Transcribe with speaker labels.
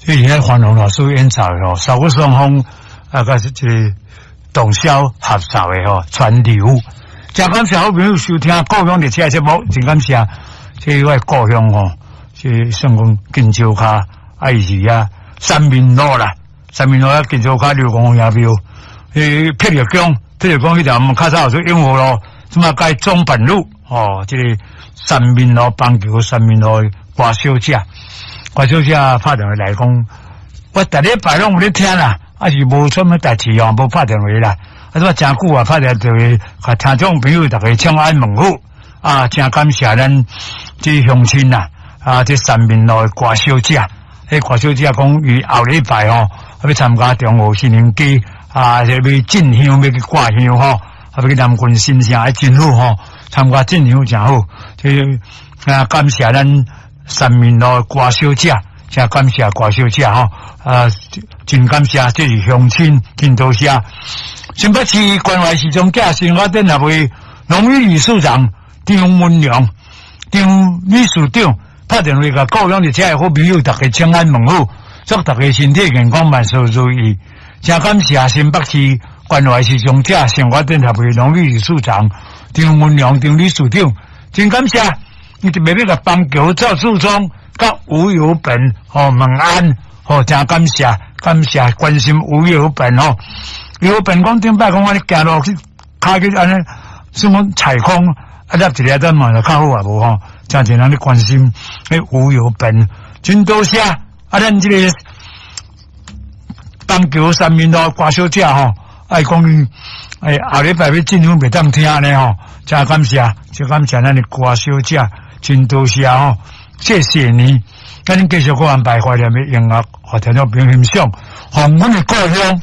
Speaker 1: 這是咱黃龍老師演奏的吼，掃鼓雙方啊，佮是這个洞簫合奏的吼，川流。真感謝好朋友收聽故鄉列車節目，真感謝這我的故鄉吼，這算講金石跤，啊伊是遐三民路啦，三民路啊金石跤劉公爺廟，彼撇玉宮，撇玉宮彼條較早有做永和路，這馬改中板路，哦，這个三民路板橋三民路的歌小姐，歌小姐拍電話來講，我逐禮拜攏有咧聽啦，啊是無啥物代誌哦，無拍電話啦。啊，這真久啊，拍電話，共聽眾朋友逐家請安問好，啊，真感謝咱這鄉親啦，啊，這三民路的歌小姐，彼歌小姐講伊後禮拜吼，欲參加中和新年祭，啊，這欲進香，欲去掛香吼，啊，欲去南郡新城，啊，真好吼，參加進香真好，這啊，感謝咱三民路的歌小姐，真感謝歌小姐吼，啊，真感謝，這是鄉親，真多謝。新北市關懷時裝寄生活展協會榮譽理事長張文良張理事長拍電話共故鄉佇遮的好朋友逐家請安問好，祝逐家身體健康，萬事如意。真感謝新北市關懷時裝寄生活展協會榮譽理事長張文良張理事長，真感謝，伊特別欲共板橋趙志忠佮吳有本吼問安吼，真感謝，感謝關心吳有本吼。有本講頂擺講按呢行路去，跤去按呢，算講踩空，啊，立一下等嘛就較好啊，無吼，誠濟人咧關心，彼吳有本，真多謝，啊，咱這個板橋三民路歌小姐吼，愛講伊，哎，後禮拜欲進香袂當聽按呢吼，真感謝，真感謝咱的歌小姐，真多謝吼，謝謝你，咱繼續閣安排懷念的音樂，予聽眾朋友欣賞，予阮的故鄉。